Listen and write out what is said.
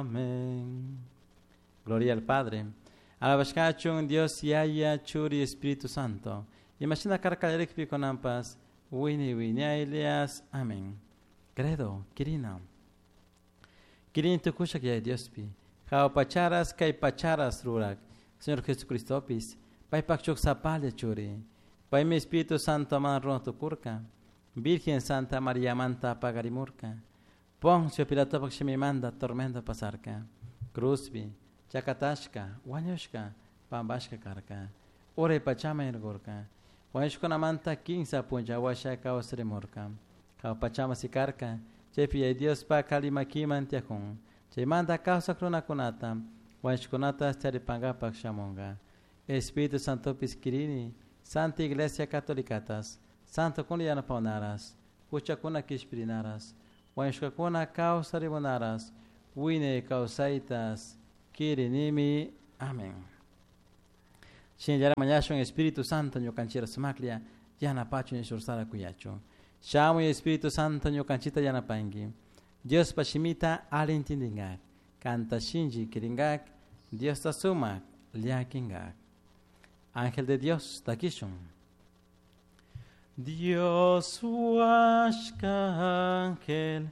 Amén. Gloria al Padre. Alabashkachun Dios Yaya Churi Espíritu Santo. Imashina karka qallarikpi kunanpas wiñay wiñaylias. Amén. Credo, Kirina. Kirin tukushak Yaya Diospi. Jahua pacharas kay pacharas rurak. Señor Jesucristopis. Paypak shuk sapalla churi. Paymi Espíritu Santo man runa tukurka. Virgen Santa María manta paqarimurka. Poncio Pilatopak shimimanta tormento pasarka. Cruzpi, chakatashka, wañushka, pampashka karka. Uray pachaman rirkurka. Wañushkunamanta kinsa punlla washa kawsarimurka. Jahua pachaman sikarka. Chaypi Yaya Diospak alli makiman tiyakun. Chaymanta kawsak runakunata, wañushkunata charipankapak shamunka. Espíritu Santopis kirini, Santa Iglesia Catolicatas, Santokuna yanapawnaras, huchakuna kishpirinaras, wañushkakuna kawsarimunaras, wiñay kawsaytas kirinimi. Amén. Shinallara mañashun Espíritu Santo ñukanchira sumaklla yanapachun shursara kuyachun. Shamuy Espíritu Santo ñukanchita yanapanki. Diospa shimita alli intindingak. Kanta shinchi kiringak. Diosta sumak llakingak. Ángel de Dios, takishun. Dios huashka ángel.